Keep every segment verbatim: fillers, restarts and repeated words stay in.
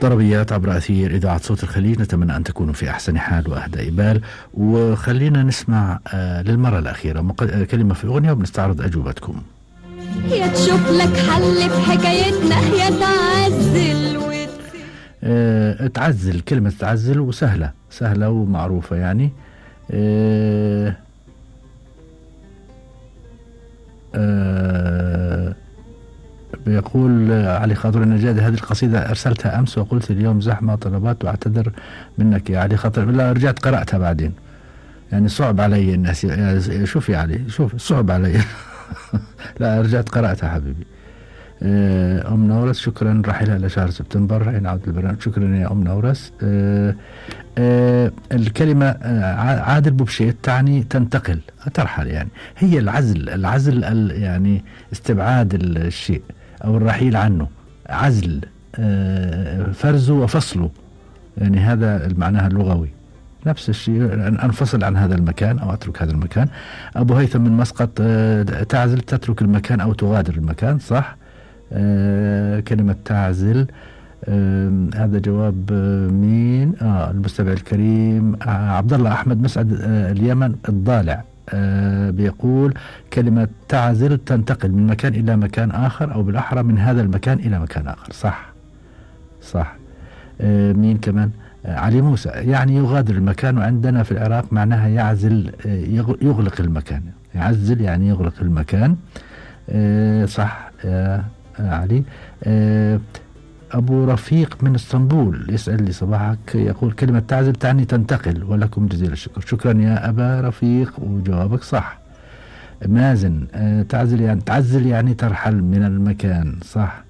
طربيات عبر أثير إذاعة صوت الخليج، نتمنى أن تكونوا في أحسن حال وأهدى إبال. وخلينا نسمع آه للمرة الأخيرة مق... كلمة في الأغنية وبنستعرض أجوبتكم. يا تشوف لك حل في حكايتنا يا تعزل وت... آه تعزل، كلمة تعزل وسهلة سهلة ومعروفة يعني. آه آه بيقول علي خاطر النجادي هذه القصيدة أرسلتها أمس وقلت اليوم زحمة طلبات وأعتذر منك يا علي خاطر. لا رجعت قرأتها بعدين، يعني صعب علي الناس. شوف يا علي، شوف صعب علي. لا رجعت قرأتها حبيبي. أم نورس شكرا، رحلها لشهر سبتمبر حين عودة البرنامج. شكرا يا أم نورس. أه أه الكلمة عادل بوبشيت تعني تنتقل ترحل، يعني هي العزل. العزل يعني استبعاد الشيء أو الرحيل عنه، عزل أه فرزه وفصله، يعني هذا المعنى اللغوي. نفس الشيء أن أنفصل عن هذا المكان أو أترك هذا المكان. أبو هيثم من مسقط أه تعزل تترك المكان أو تغادر المكان، صح. آه كلمة تعزل. آه هذا جواب آه مين؟ آه المستمع الكريم آه عبد الله أحمد مسعد آه اليمن الضالع. آه بيقول كلمة تعزل تنتقل من مكان إلى مكان آخر، أو بالأحرى من هذا المكان إلى مكان آخر، صح صح. آه مين كمان؟ آه علي موسى يعني يغادر المكان، وعندنا في العراق معناها يعزل آه يغلق المكان. يعزل يعني يغلق المكان. آه صح آه علي. أه أبو رفيق من اسطنبول يسأل لي صباحك، يقول كلمة تعزل تعني تنتقل، ولكم جزيل الشكر. شكرا يا أبا رفيق وجوابك صح. مازن أه تعزل يعني تعزل يعني ترحل من المكان، صح.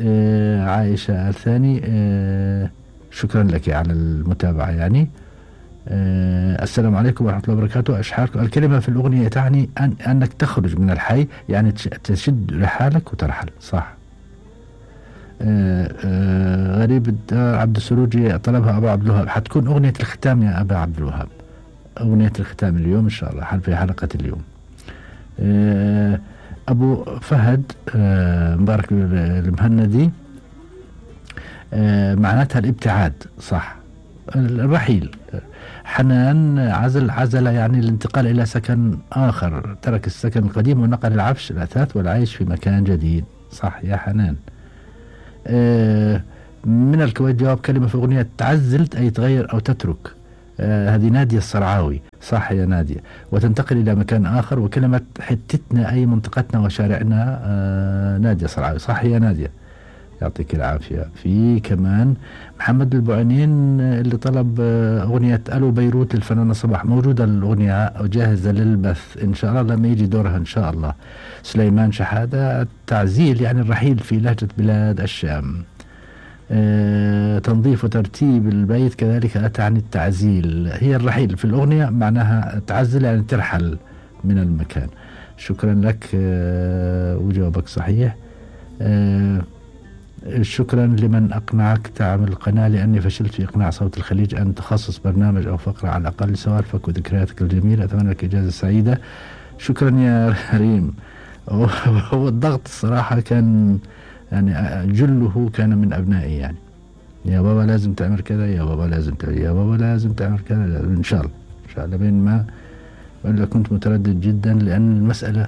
أه عائشة الثاني أه شكرا لك على المتابعة يعني. أه السلام عليكم ورحمة الله وبركاته. أشحاركم الكلمة في الأغنية تعني أن أنك تخرج من الحي، يعني تشد رحالك وترحل، صح. أه أه غريب الدار عبد السروجي طلبها أبو عبد الوهاب، حتكون أغنية الختام يا أبا عبد الوهاب، أغنية الختام اليوم إن شاء الله في حلقة اليوم. أه أبو فهد أه مبارك المهندي أه معناتها الابتعاد، صح، الرحيل. حنان عزل عزل يعني الانتقال إلى سكن آخر، ترك السكن القديم ونقل العفش الأثاث والعيش في مكان جديد، صح يا حنان. آه من الكويت جواب كلمة في أغنية تعزلت أي تغير أو تترك. آه هذه نادية الصرعاوي، صح يا نادية. وتنتقل إلى مكان آخر، وكلمة حتتنا أي منطقتنا وشارعنا. آه نادية الصرعاوي، صح يا نادية، يعطيك العافية. في كمان محمد البعينين اللي طلب أغنية ألو بيروت للفنانة صباح، موجودة الأغنية وجاهزة للبث إن شاء الله لما يجي دورها إن شاء الله. سليمان شحادة التعزيل يعني الرحيل في لهجة بلاد الشام. آه تنظيف وترتيب البيت كذلك أتى عن التعزيل، هي الرحيل في الأغنية معناها تعزل يعني ترحل من المكان. شكرا لك آه وجوابك صحيح. آه شكرا لمن أقنعك تعمل القناة، لأني فشلت في إقناع صوت الخليج أن تخصص برنامج أو فقرة على الأقل سوالفك وذكرياتك الجميلة، أتمنى لك إجازة سعيدة. شكرا يا ريم. هو الضغط الصراحة كان يعني جله كان من أبنائي، يعني يا بابا لازم تعمل كذا، يا بابا لازم تعمل يا بابا لازم تعمل كذا، إن شاء الله إن شاء الله. بين ما وإلا كنت متردد جدا، لأن المسألة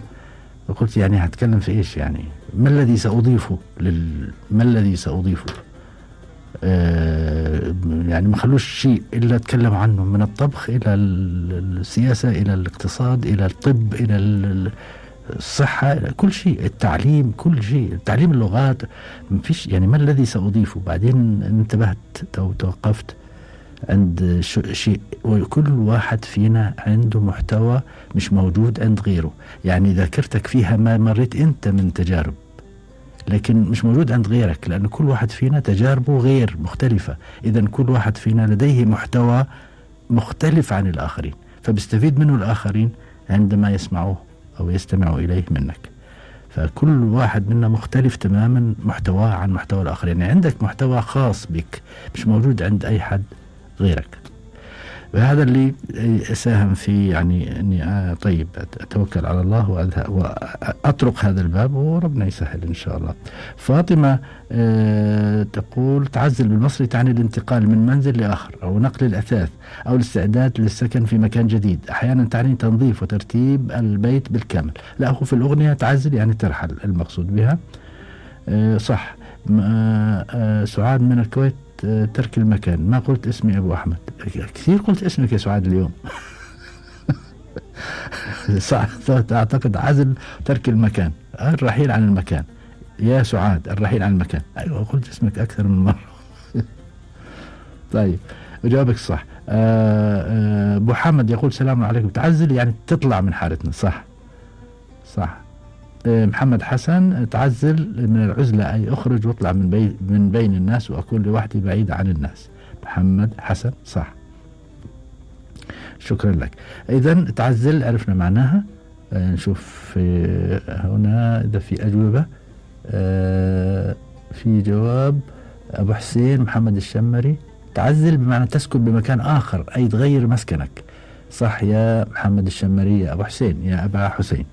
قلت يعني هتكلم في إيش، يعني ما الذي سأضيفه لل... ما الذي سأضيفه آه يعني ما خلوش شيء إلا أتكلم عنه، من الطبخ إلى السياسة إلى الاقتصاد إلى الطب إلى الصحة إلى كل شيء، التعليم كل شيء، تعليم اللغات ما فيش، يعني ما الذي سأضيفه. بعدين انتبهت أو توقفت عند شيء، وكل واحد فينا عنده محتوى مش موجود عند غيره، يعني ذاكرتك فيها ما مريت أنت من تجارب لكن مش موجود عند غيرك، لأن كل واحد فينا تجاربه غير مختلفة، إذن كل واحد فينا لديه محتوى مختلف عن الآخرين، فبيستفيد منه الآخرين عندما يسمعوه أو يستمعوا إليه منك. فكل واحد منا مختلف تماما محتواه عن محتوى الآخرين، يعني عندك محتوى خاص بك مش موجود عند أي حد غيرك. وهذا اللي ساهم في يعني أني طيب أتوكل على الله وأذهب وأطرق هذا الباب وربنا يسهل إن شاء الله. فاطمة أه تقول تعزل بالمصري تعني الانتقال من منزل لآخر أو نقل الأثاث أو الاستعداد للسكن في مكان جديد، أحيانا تعني تنظيف وترتيب البيت بالكامل. لا، هو في الأغنية تعزل يعني ترحل المقصود بها. أه صح. أه سعاد من الكويت ترك المكان. ما قلت اسمي أبو أحمد، كثير قلت اسمك يا سعاد اليوم. صح، أعتقد عزل ترك المكان، الرحيل عن المكان يا سعاد، الرحيل عن المكان. أيوة قلت اسمك أكثر من مرة. طيب وجوابك صح. أبو حمد يقول سلام عليكم، تعزل يعني تطلع من حالتنا. صح صح. محمد حسن تعزل من العزلة أي أخرج واطلع من, بي من بين الناس وأكون لوحدي بعيد عن الناس. محمد حسن صح، شكرا لك. إذن تعزل عرفنا معناها. آه نشوف هنا إذا في أجوبة. آه في جواب أبو حسين محمد الشمري، تعزل بمعنى تسكن بمكان آخر أي تغير مسكنك. صح يا محمد الشمري يا أبو حسين يا أبا حسين.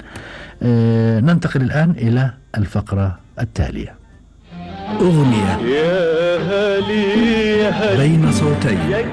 آه ننتقل الآن إلى الفقرة التالية. أغنية يا هلي يا هلي بين صوتين.